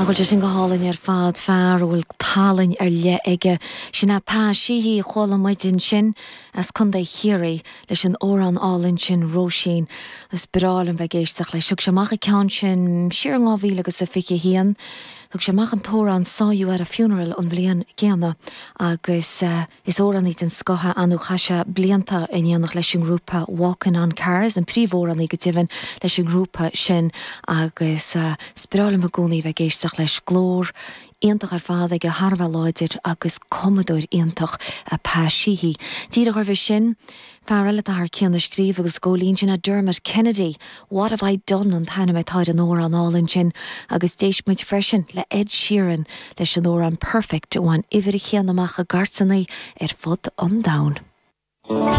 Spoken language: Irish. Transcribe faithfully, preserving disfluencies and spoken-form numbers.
Nach bhfuil sé sin go hálainn ar fad fear a bhfuil tallann ar leith aige sin é Pa Sheehy a chuala muid ansin as Contae Chiarraí leis an amhrán álainn sin Róisín is breá liom bheith ag éisteacht leis. Thug sé amach an ceann sin siar dhá mhíle agus a fiche haon. Thug sé amach an t-amhrán Saw You at a Funeral an bhliain céanna agus uh, is amhránaí den scoth é nó chaith sé blianta in éineacht leis an ngrúpa Walking on Cars an príomhamhránaí go deimhin leis an ngrúpa sin agus uh, is breá liom i gcónaí bheith ag éisteacht leis glór iontach ar fad aige thar a bheith láidir agus cumadóir iontach a Pa Sheehy. Díreach roimhe sin, fear eile atá thar cionn a scríobh agus góilín sin a Dermot Kennedy. What have I done an t-ainm atá ar an amhrán álainn sin agus d'éist muid freisin le Ed Sheeran leis an amhrán Perfect a bhain uimhir a haon amach i gcairteanna ar fud an domhain.